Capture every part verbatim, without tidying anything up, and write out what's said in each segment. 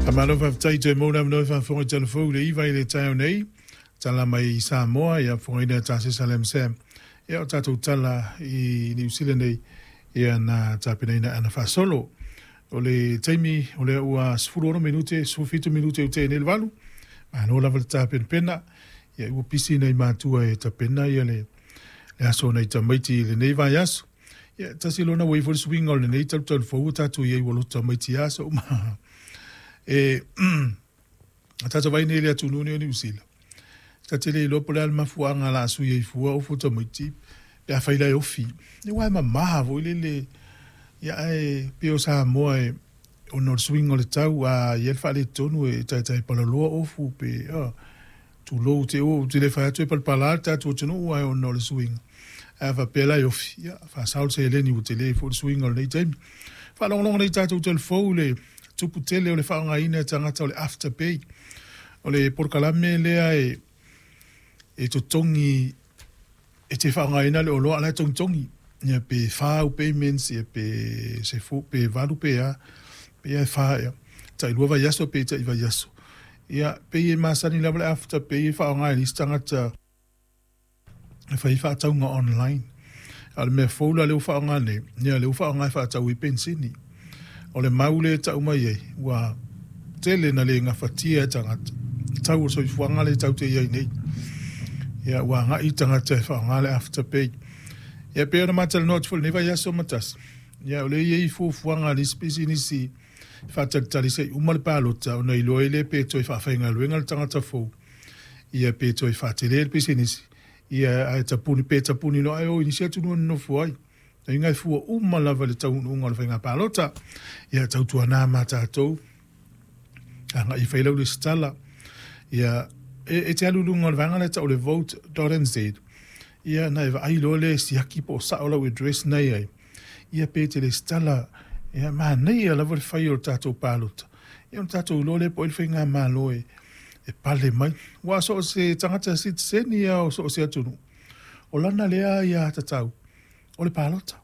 Faamalo faafetai toe mo le avanoa e faafofoga i telefou le iva i le taeao nei. Tala mai i Samoa, ia fofogaina e Tasesa Lam Sam. Ia o tatou tala i Niu Sila nei, ia na tapenaina ana faasolo. O le taimi o lea ua sefulu ono minute, sefulu fitu minute ua tea nei le valu. Malo lava le tapenapena. Ia ua pisi nai matua e tapena ia le, le aso nai tamaiti i lenei vaiaso. Ia tasi lona ua ifo le suiga o lenei talutalu fou ua tatou i ai ua loto tamaiti aso uma. E a tatou vai nei i le atunuu nei o Niu Sila. Ta te le iloa po o le a le mafuaaga o le a sui ai fua ofu o tamaiti pe afai la e ofi. Ia aua e mama foi lele ia ae pei o Samoa e ona o le suiga o le tau a i ai le faaletonu e taitai palaloa ofu pe a tulou te ua ou te le fai atu e palapala le tatou atunuu ae ona o le suiga. Ae a faapea la e ofi, ia faasao le seleni ua tele foi le suiga o lenei taimi. Faalogologo nei tatou telefou i le tupu tele o le faaaogaina e tagata o le Afterpay. O le polokalame lea e e totogi e te faaaogaina le oloa a o la e togitogi. Ia pe fa au payments, ia pe sefu, pe valu pe a, pe ia e fa ea. Tai lua vaiaso pe tai vaiaso. Ia pei e masani lava le Afterpay e faaaoga e nisi tagata e fai ai faatauga online. A o le mea fou la lea ua faaaoga nei, ia lea ua faaaoga e faatau ai penisini. O le mau lea e tau mai ai, ua tele na le gafatia e tagata tau o le soifuaga lea tatou te i ai nei. Ia ua agai tagata e faaaoga le Afterpay. Ia pei ona matalanoa atu foi i lenei vaiaso ma tasi, ia o lea e i ai fuafuaga a nisi pisinisi e faatalitali se i uma le palota ona iloa ai lea pe toe faafaigaluega le tagata fou, ia pe toe faatele le pisinisi, ia ae tapuni pe tapuni loa ae o i nisi atunuu e nonofo ai. Aiga e fua uma lava i le taunuuga o le faiga palota. Ia tautuana ma tatou agai e fai lau lesitala. Ia e, e te alu i luga o le vaega lea tau o le vote dot n z. Ia na e vaai loa lea e siaki po o sao lau address na i ai. Ia pe te lesitala, ia manaia lava le fai o le tatou palota. Ia ona tatou iloa lea po o ai le faigamalo e e pale mai. Aua so o se tagata sitiseni lava o so o se atunuu, o lana lea aiatatau o le palota.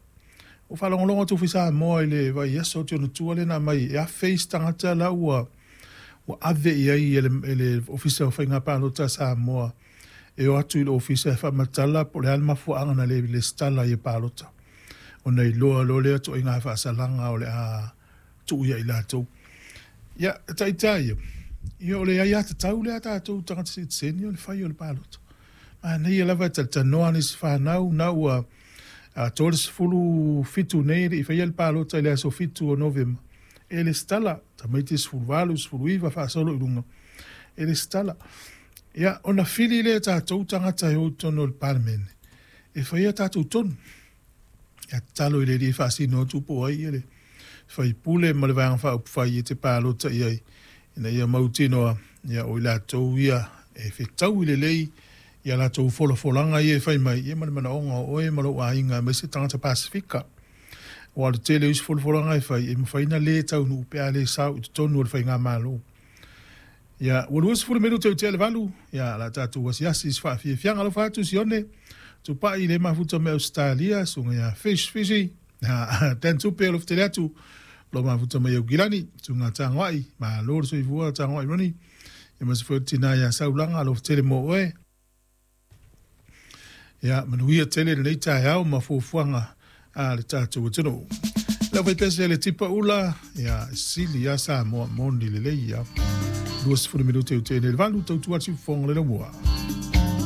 Ua faalogologo atu foi Samoa i le vaiaso atu ona tua lea na aumai e afe isi tagata la ua ua ave i ai e le, e le Ofisa o Faiga Palota a Samoa e o atu i le Ofisa e faamatala po o le a le mafuaaga na le lesitala ai e palota. Ona iloa loa lea ituaiga faasalaga o le a tuu ia i latou. Ia, e taitai ia, ia o le aiatatau lea a tatou tagata sitiseni o le fai o le palota. Manaia lava e talatalanoa nisi fanau na ua tolu sefulu fitu nei e le i faia le palota i le aso fitu o Novema. E lesitala, tamaiti sefulu valu, sefulu iva faasolo i luga, e lesitala. Ia, ona fili lea e tatou tagata e o i totonu o le Palemene, e faia tatou tonu. Ia tatalo i le Alii e faasino atu po o ai le faipule ma le Vaega Faaupufai e te palota i ai, ina ia mautinoa ia o i latou ia e fetaui lelei i a latou folafolaga ia e fai mai, ia ma le manaoga o oe ma lou aiga aemaise tagata Pasefika. Aua o le tele o isi folafolaga e fai, e mafai ona le taunuu pe a le sao i totonu o le faigamalo. Ia, ua luasefulu minute ua tea le valu, ia, o le a tatou asiasi i se faafiafiaga. Alofa atu Sione, Tupai le mafuta mai Ausetalia, susuga ia Fish Fishy, Dan Tupe alofa tele atu, lo mafuta mai Aukilani, susuga Tagoai, malo le soifua Tagoai Ronnie, ia ma se foi o le tina ia Saulaga, alofa tele mo oe. Ia, manuia tele lenei taeao ma fuafuaga a le tatou atunuu. Lau faipese le tipa ula, ia, sili ia Samoa moni lelei ia. luasefulu minute ua tea nei le valu, tautua atu fofoga le laumua.